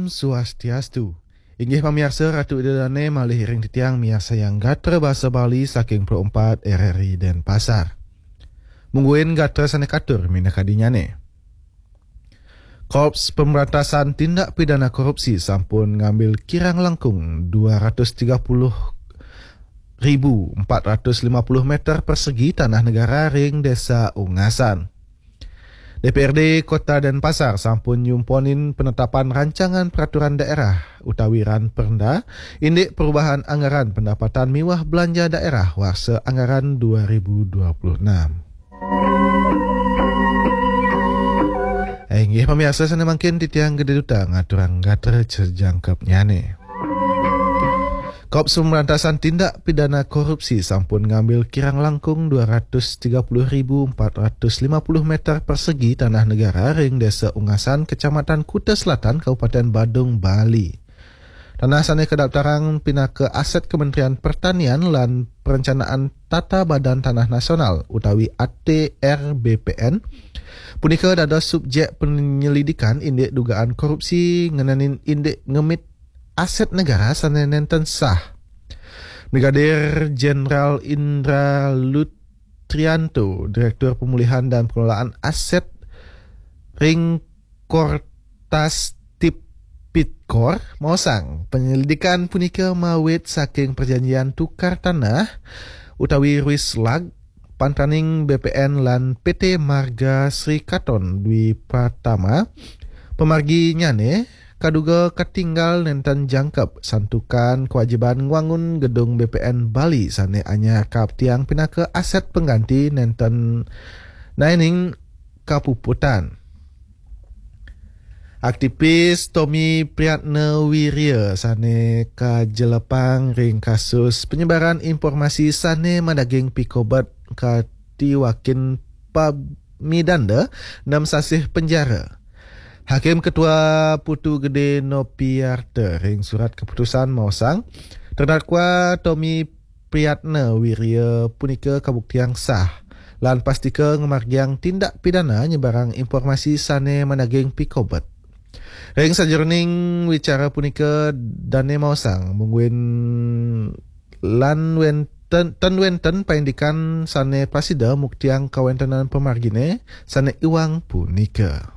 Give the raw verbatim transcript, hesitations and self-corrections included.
Swastiastu. Inggih pamiarsa, Ratu Ida Dane malih iring titiang miarsayang gatra basa Bali saking Pro empat R R I Denpasar. Mungguin gatra sane katur minakadinyane. Korps Pemberantasan Tindak Pidana Korupsi sampun ngambil kirang langkung dua ratus tiga puluh ribu empat ratus lima puluh meter persegi tanah negara ring Desa Ungasan. D P R D Kota Denpasar sampun nyumponin penetapan rancangan peraturan daerah utawi RAN Perda, indik perubahan anggaran pendapatan miwah belanja daerah warsa anggaran dua ribu dua puluh enam. Eh, inggih pamiarsa, sane mangkin titiang Gede Duta ngaturang gatra sejangkepnyane. Korps Pemberantasan Tindak Pidana Korupsi sampun ngambil kirang langkung dua ratus tiga puluh ribu empat ratus lima puluh meter persegi tanah negara ring Desa Ungasan, Kecamatan Kuta Selatan, Kabupaten Badung, Bali. Tanah sane kadaptarang pinaka aset Kementerian Pertanian lan Perencanaan Tata Badan Tanah Nasional utawi A T R B P N punika dados subjek penyelidikan indik dugaan korupsi ngenenin indik ngemit aset negara sane nenten sah. Brigadir Jenderal Indra Lutrianto, Direktur Pemulihan dan Pengelolaan Aset ring Kortas Tipikor, maosang penyelidikan punika mawit saking perjanjian tukar tanah utawi Ruislag pantaning B P N lan P T Marga Sri Katon Dwi Pratama, pamarginyane kaduga katinggal nenten jangkep santukan kewajiban ngwangun gedung B P N Bali sane anyar kaaptiang pinaka aset pengganti nenten naining kapuputan. Aktivis Tommy Priatna Wiria sane kajelepang ring kasus penyebaran informasi sane madaging pikobet katiwakin pamidanda nem sasih penjara. Hakim Ketua Putu Gede Nopiarta ring surat keputusan maosang, terdakwa Tommy Priatna Wiria punika kabuktiang sah lan pastika ngamargiang tindak pidana nyebarang informasi sane madaging pikobet. Ring sajeroning wicara punika dane maosang mungguin lan wenten, ten wenten paindikan sane prasida muktiang kawentenan pamargine sane iwang punika.